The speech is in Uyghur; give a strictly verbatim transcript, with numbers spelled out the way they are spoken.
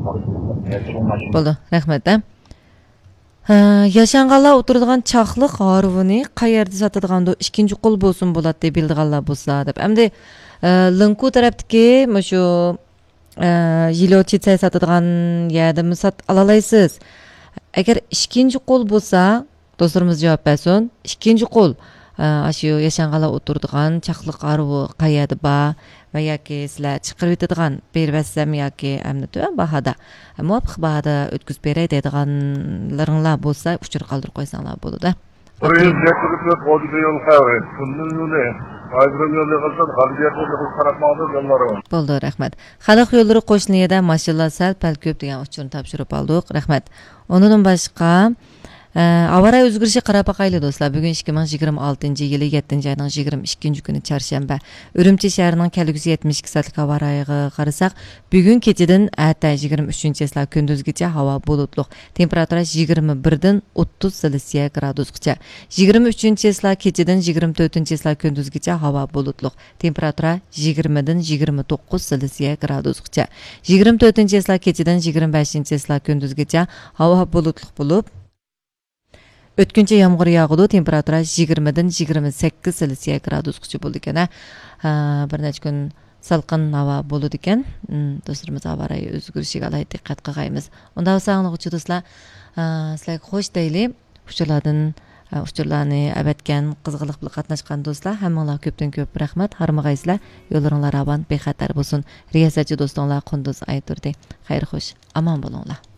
بولدى، رەھمەت. ھە، ياشانغانلار ئولتۇرىدىغان چاقلىق ھارۋىنى قەيەردە ساتىدىغاندۇ؟ ئىككىنچى قول بولسىمۇ بولاتتى، بىلىدىغانلار بولسا دەپ. ئەمدى، ئە، لىڭكۇ تەرەپتىكى مۇشۇ، ئە، يىليوچىتسەي ساتىدىغان يەردىمۇ سات-، ئالالايسىز. ئەگەر ئىككىنچى قول بولسا، دوستلىرىمىز جاۋاب بەرسۇن. ئىككىنچى قول، ئە، ئاشۇ ياشانغانلار ئولتۇرىدىغان چاقلىق ھارۋا قەيەردە بار ۋە ياكى سىلەر چىقىرىۋېتىدىغان، بېرىۋەتسەم ياكى ئەمدى تۆۋەن باھادا، مۇۋاپىق باھادا ئۆتكۈزۈپ بېرەي دەيدىغانلىرىڭلار بولسا، ئۇچۇر قالدۇرۇپ قويساڭلار بولىدۇ. بىر يۈز يەتتە يول خەۋى، كۈندۈز يولى، ئايرىم يول يىغىلسۇن، غەربىي يول يىغىلسۇن، قاراپ ماڭىدۇ يوللىرى. بولدى، رەھمەت. خەلق يوللىرى قوشنا يەردە ماشىنىلار سەل پەل كۆپ دېگەن ئۇچۇرنى تاپشۇرۇپ ئالدۇق. رەھمەت. ئۇنىڭدىن باشقا، ئە، ھاۋا رايى ئۆزگىرىشىگە قاراپ باقايلى، دوستلار. بۈگۈن ئىككى مىڭ يىگىرمە ئالتىنچى يىلى يەتتىنچى ئاينىڭ يىگىرمە ئىككىنچى كۈنى، چارشەنبە. ئۈرۈمچى شەھىرىنىڭ كەلگۈسى يەتمىش ئىككى سائەتلىك ھاۋا رايىغا قارىساق، بۈگۈن كېچىدىن ئەتە يىگىرمە ئۈچىنچى چىسلا كۈندۈزگىچە ھاۋا بۇلۇتلۇق، تېمپېراتۇرا يىگىرمە بىردىن ئوتتۇز سېلسىيە گرادۇسقىچە. يىگىرمە ئۈچىنچى چىسلا كېچىدىن يىگىرمە تۆتىنچى چىسلا كۈندۈزگىچە ھاۋا بۇلۇتلۇق، تېمپېراتۇرا يىگىرمىدىن يىگىرمە توققۇز سېلسىيە گرادۇسقىچە. يىگىرمە تۆتىنچى چىسلا كېچىدىن يىگىرمە بەشىنچى چىسلا كۈندۈزگىچە ھاۋا بۇلۇتلۇق بولۇپ، ئۆتكۈنچى يامغۇر ياغىدۇ، تېمپېراتۇرا يىگىرمىدىن يىگىرمە سەككىز سېلسىيە گرادۇسقىچە بولىدىكەن، ھە. ھە، بىر نەچچە كۈن سالقىن ھاۋا بولىدىكەن. ھىم، دوستلىرىمىز ھاۋا رايى ئۆزگىرىشىگە ئالاھىدە دىققەت قىلغايمىز. ئۇنداق بولسا، ئاڭلىغۇچى دوستلار، ھە، سىلەرگە خوش دەيلى. ئۇچۇرلاردىن، ئە، ئۇچۇرلارنى ئەۋەتكەن، قىزغىنلىق بىلەن قاتناشقان دوستلار، ھەممىڭلارغا كۆپتىن كۆپ رەھمەت. ھارمىغايسىلەر، يوللىرىڭلار راۋان، بىخەتەر بولسۇن. رىياسەتچى دوستۇڭلار قۇندۇز ئايتۇردى. خەير خوش، ئامان بولۇڭلار.